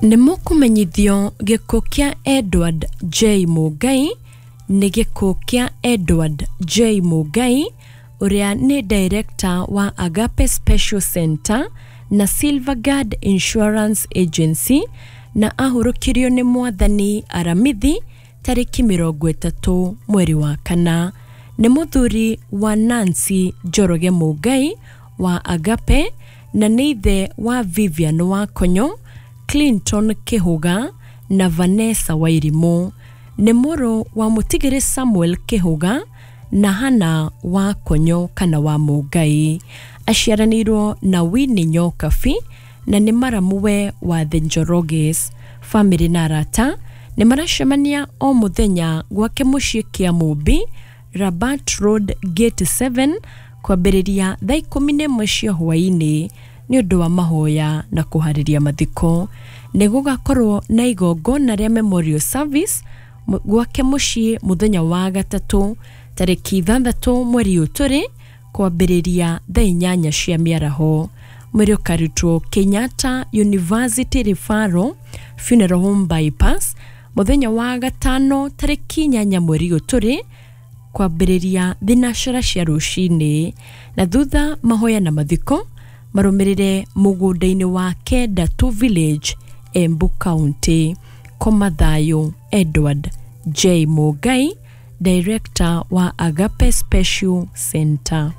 Nĩ mũkũmenyithio gĩkuũ kĩa Edward J Mũngai. Nĩ gĩkuũ kĩa Edward J Mũngai, ũrĩa nĩ director wa Agape Special Center na Silverguard Insurance Agency, na ahurũkirio nĩ Mwathani Aramithi tarĩki 30 mweri wa 4. Nĩ mũthuri wa Nancy Njoroge Mũngai wa Agape, na nĩ ithe wa Vivian Wakonyo, Clinton Kĩhũga na Vanessa Wairimũ. Nĩ mũrũ wa mũtigĩrĩ Samuel Kĩhũga na Hana wa Konyo kana wa Mũngai. Aciaranĩirwo na Winnie Nyokabi na nĩ maramuwe wa The Njoroges. Famĩlĩ na arata nĩ maracemania o mũthenya gwake mũciĩ kĩa Mũmbi, Rabat Road Gate 7, kwambĩrĩria thaa 11 cia hwaĩ-inĩ nĩ ũndũ wa mahoya na kũharĩria mathiko. Nĩ gũgakorwo na igongona rĩa memorial service gwake mũciĩ mũthenya wa gatatũ tarĩki 6 mweri ũyũ tũrĩ, kwambĩrĩria thaa 8 cia mĩaraho. Mwĩrĩ ũkarutwo Kenyatta University Referral Funeral Home Bypass mũthenya wa gatano tarĩki 8 mweri ũyũ tũrĩ, kwambĩrĩria thinacara cia rũcinĩ, na thutha mahoya na mathiko marũmĩrĩre mũgũnda-inĩ wa Kendatu Village, Embu County. Koma thayũ Edward J Mũngai, director wa Agape Special Center.